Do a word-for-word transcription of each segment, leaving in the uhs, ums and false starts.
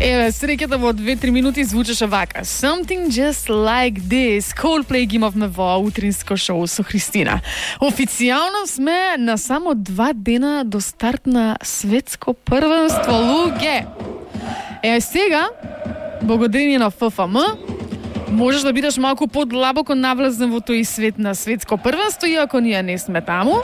Еве, среќата во две-три минути звучеше вака. Something just like this. Coldplay ги имавме во утринско шоу со Христина. Официјално сме на само два дена до старт на светско првенство, луѓе. Е, сега, благодарение на Ф Ф М, можеш да бидеш малку подлабоко навлезен во тој свет на светско првенство, иако ние не сме таму.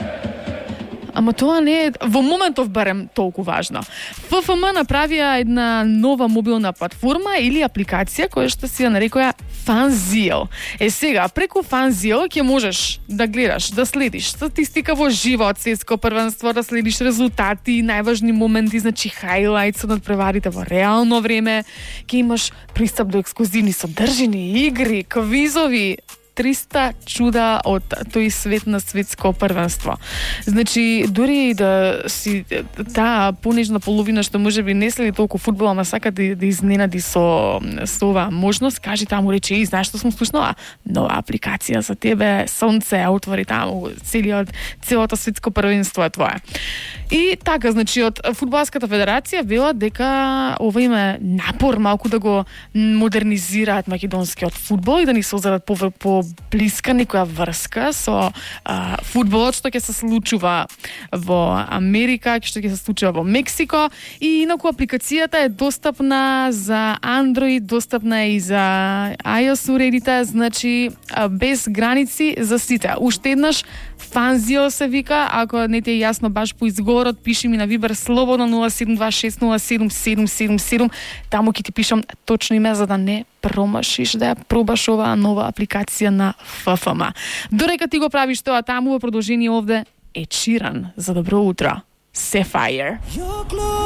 Ама тоа не е во моментов барем толку важно. Ф Ф М направија една нова мобилна платформа или апликација која што си ја нарекоја FanZio. Е сега, преку FanZio ќе можеш да гледаш, да следиш статистика во живо од светско првенство, да следиш резултати, најважни моменти, значи хайлајтс од надпреварите во реално време, ќе имаш пристап до ексклузивни содржини, игри, квизови, триста чуда од тој свет на светско првенство. Значи, дури да си таа понежна половина што можеби не следи толку фудбал, ама сака да, да изненади со, со оваа можност, кажи таму, рече, и знаеш што сум слушнала? Нова апликација за тебе, сонце, отвори таму, целиот, целото светско првенство е твое. И така, значи, од Фудбалската федерација велат дека ова има напор малку да го модернизираат македонскиот фудбал и да ни созидат по, по блиска некоја врска со а, фудбалот што ќе се случува во Америка, што ќе се случува во Мексико, и инаку апликацијата е достапна за Android, достапна и за iOS уредите, значи без граници за сите. Уште еднаш FanZio се вика, ако не ти е јасно баш по изговорот, пиши ми на Вибер слободно нула седум два шест нула седум седум седум седум, таму ќе ти пишам точно име за да не промашиш да ја пробаш оваа нова апликација на Ф Ф М. Дорека ти го правиш тоа таму, во продолжение овде Ed Sheeran за добро утро. Sapphire.